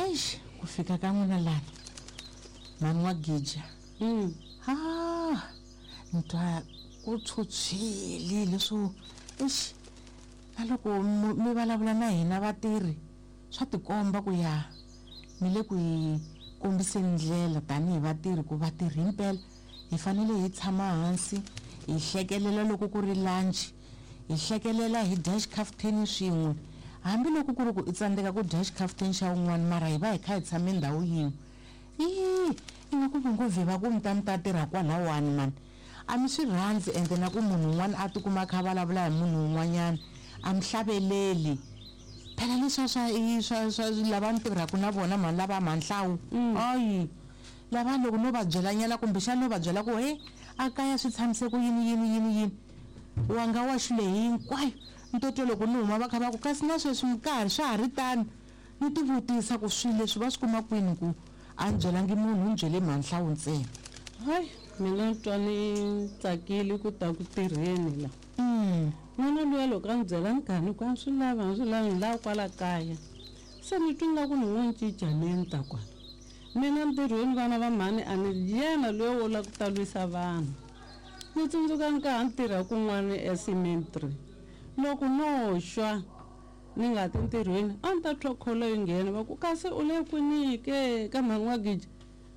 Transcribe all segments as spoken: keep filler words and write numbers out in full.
Eish, ku fika ka n'wina lana mhani wa Gija. Mm. Ah, ni twa ku tshutshwile leswo eish, na loko mi mi vulavula na hina vatirhi swa tikomba ku ya mi le ku hi kombiseni ndlela tanihi vatirhi ku vatirhi himpela hi fanele hi tshama hansi hi hlekelela loko ku ri lunch, hi hlekelela hi dya xikhafuthini swin'we, hambiloko ku ri ku i tsandzeka ku dya xikhafuthini xa wun'wana mara hi va hi kha hi tshame ndhawu yin'we. Ii, ingaku va ngo vhe va ku mi ta mi ta tirha kwalawani mani a mi swi rhandzi ende na ku munhu un'wana a tikuma a kha a vulavula hi munhu un'wanyana a mi hlaveleli. Phela leswiya swa i swa swa lava ni tirhaka na vona mhani lava Mhanhlawu, ayi lava loko no va byelanyana kumbexana no va byela ku he a kaya swi tshamise ku yini yini yini yini, wa nga wa xilo hinkwayo ni to twa loko ni huma va kha va ku kasi na sweswi minkarhi swa ha ri tano. Ni ti vutisa ku swilo leswi va swi kuma kwini ku a ni byelangi munhu ni byele Mhanhlawu ntsena. Hayi, mina ni twa ni tsakile ku ta ku tirheni la. Mm. N'wana luya loko a ni byela ni karhi ni ku a swi lavi, a swi lavi, ni lava kwala kaya. Se ni twa ingaku ni ngo cinca ni ni ta kwala. Mina ntirhweni vana va mhani a ni yena luya wo lava ku ta lwisa vanhu. Ni tsundzuka ni ka ha ni tirha kun'wana eCemetery. Loko no xwa ni nga ti ntirhweni a ni ta twa kholo yi nghena va ku kasi u le kwini ke ka mhani wa Gija?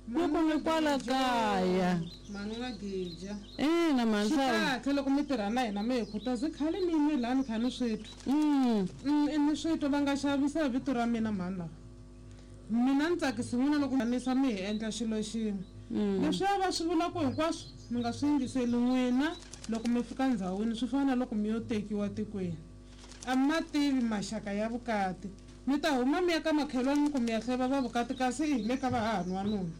Loko ni kwala kaya. Mhani wa Gija. Ina, mhani Swi Hlawu. kahle loko mi tirha na hina mi hi khutaza khale ni yimile laha ni kha ni swi twa. Mm. Mm, i ni swi twa va nga xavisa hi vito ra mina mhani lava. Mina ni tsakisi n'wina loko mi mi hi endla xilo xin'we. Mm. Leswiya va swi vulaka hinkwaswo mi nga swi yingiseli n'wina loko mi fika ndhawini swi fana na loko mi yo tekiwa tikweni. A mi ma tivi maxaka ya vukati. Mi ta huma mi ya ka makhelwani mi ku mi ya hleva va vukati kasi i hi le ka vahahani wa nuna.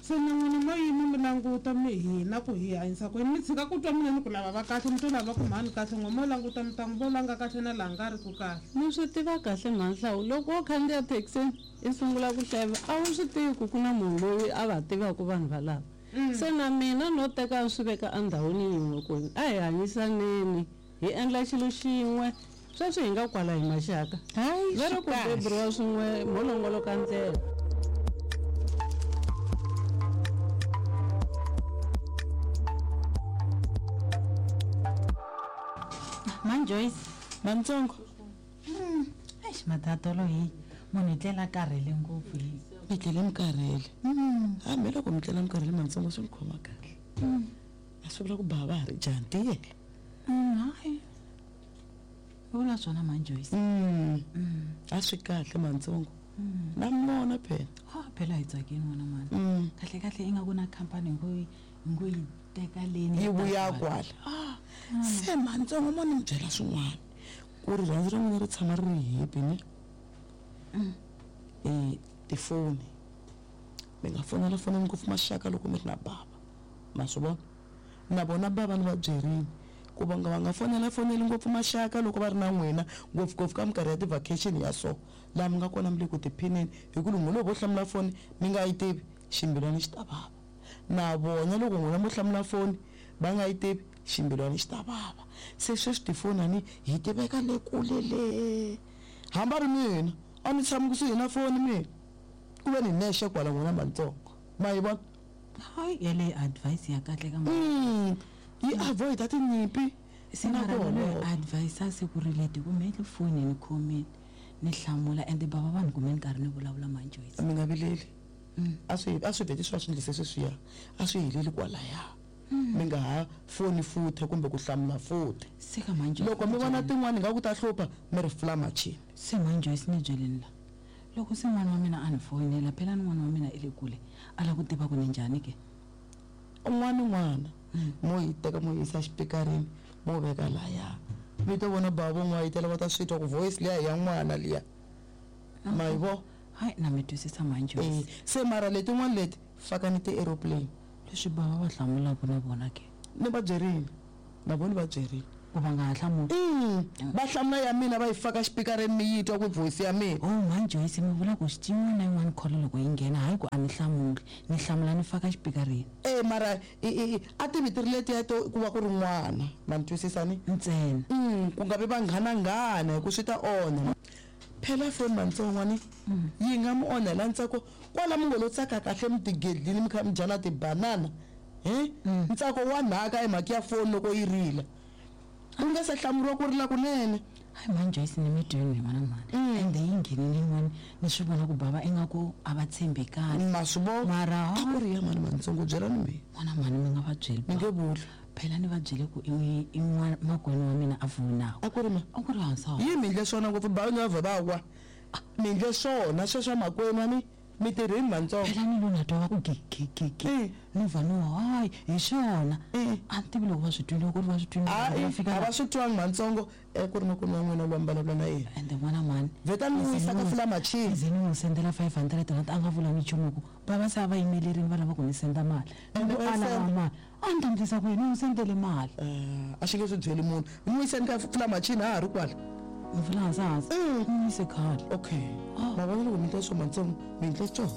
Se na n'wina mo yima mi languta mi hina ku hi hanyisa ku yini, mi tshika ku twa mina ni ku lava va kahle mi to lava ku mhani kahle n'we mo languta mi ta n'wi vona nga kahle na laha nga ri ku kahle. Ni swi tiva kahle mhani Hlawu, loko wo khandziya thekisini i sungula ku hleva a wu swi tivi ku ku na munhu loyi a va tivaka vanhu valava. Mm. Se na mina no teka swi veka endhawini yin'we ku a hi hanyisaneni hi endla xilo xin'we sweswi hi nga kwala hi maxaka. Hayi, Va ri swi ku kahle. beburiwa swin'we mo longoloka ndlela. Mhani Joyce. Mantsongo. Mm. Eish, matatolo hi munhu hi tlela karhele ngopfu hi. Mi tlele mi karhele. Mm. Hambi loko mi tlela mi karhele Mantsongo swi mi khoma kahle. Mm. A swi vula ku bava ha ri jani tiyela. Mm, hayi. Vula swona Mhani Joyce. Mm. Mm. A swi kahle Mantsongo. Mm. Na mi vona phela. Ha, phela hi tsakile n'wana mhani. Mm. Kahle kahle ingaku na khampani hi ngo yi hi ngo yi teka leni Yi yi ta vuya kwala. kwala. Ah. Se Mantsongo mo ni mi byela swin'wana. Ku rirhandzu ra n'wina ri tshama ri ri happy ne? Mm. Eh, tifoni. Mi nga fonela fonela ngopfu maxaka loko mi ri na bava. Ma swi vona? Na vona bava ni va byerile ku va nga va nga fonela foneli ngopfu maxaka loko va ri na n'wina ngopfungopfu ka minkarhi ya ti-vacation ya so laha mi nga kona mi le ku tiphineni hi ku loko n'wina vo hlamula foni mi nga yi tivi ximbilwana xi ta vava. Na vona loko n'wina mo hlamula foni va nga yi tivi ximbilwana xi ta vava. Se sweswi tifoni a ni hi ti veka le kule le. Hambi a ri mina a ni tshami kusuhi na foni mina ku ve ni nexe kwala n'wina Mantsongo. Ma yi vona? Hayi, yeleyo advice ya kahle ka Mm. Yi avoid-a tinyimpi Se na mara ku mina holova. advice a se ku ri leti ku me foni ni khomile ni hlamula ende bava vanhu kumbe ni karhi ni vulavula Mhani Joyce. Mi nga vileli. Mm. A swi a swi vheti swi va swi endlise sweswiya a swi heleli kwalaya. Mm. Mi nga ha foni futhi kumbe ku hlamula futhi. Se ka Mhani Joyce Loko mi vona tin'wani ingaku ta hlupha mi ri fula machini. Se Mhani Joyce ni byeleni la. Loko se n'wana wa mina a ni foyinela phela ni n'wana wa mina i le kule a lava ku tiva ku ni njhani ke. Un'wana n'wana mo yi teka mo yisa xipikarini mo veka laya. Mi to vona bava vo n'wayitela va ta swi twa ku voice liya hi ya n'wana liya. Ma yi vo? Hayi, na mi twisisa Mhani Joyce. Eh, se mara letin'wana leti fakani ti-aeroplane. Leswi bava va hlamulaka na vona ke. Ni va byerile. Na vona va byerile. Ku va nga ha hlamuli. Mm. Va hlamula ya mina va yi faka xipikarini mi yi twa ku voice ya mina. Oh, Mhani Joyce mi vula ku yin'wana na yin'wana call loko yi nghena hayi ku a ni hlamuli, ni hlamula ni faka xipikarini. Eh, mara i, i, i, a ti vitiri letiya to ku va ku ri n'wana. Ma ni twisisa ni? Ntsena. Mm, ku nga vi vanghananghana hi ku swi ta onha. Phela foni mantsongwani yi nga mi onhela ntsako kwala mi ngo lo tsaka kahle mi tigedlini mi kha mi dya na tibanana he ntsako wa nhaka hi mhaka ya foni loko yi rila u nga se hlamuriwa ku rila kunene. Hayi mhani Joyce ni mi twini n'wana mhani ende yi nghenile yin'wana ni swi vona ku bava ingaku a va tshembekani ma swi vona mara a ku ri ya mani mantsongo byelani mina n'wana mhani mi nga va byeli mi nge vuli phela ni va byele ku i i n'wana makwenu wa mina a fonaka a ku ri ma a ku ri hansi yi mi endle swona ngopfu bava ni va vhe va wa mi endle swona sweswa makwenu a ni mi tirhini mantsongo phela ni lo na twa va ku gigigigi Eh. ni vha ni wa hayi hi swona Eh. a ni tivi loko va swi twile ku ri va swi twile hayi va fika a la va swi twangi mantsongo e ku ri makwenu wa n'wina loyi mi vulavula na yena ende n'wana mhani vheta ni n'wi yisa ka fula machini ze ni n'wi sendela five hundred rand a nga vula nchumu ku bava se a va yimelerini va lava ku ni senda mali Ende ni ku va a yi lava senda? mali a ni ta ndlisa ku yini ni n'wi sendele mali Eh, a xi nge swi byeli munhu mi n'wi yiseni ka fula machini a ha ri kwala ni vula hansi hansi Mm. ni n'wi yise khale okay ma vona loko mi endla swo mantsongo mi endle swona.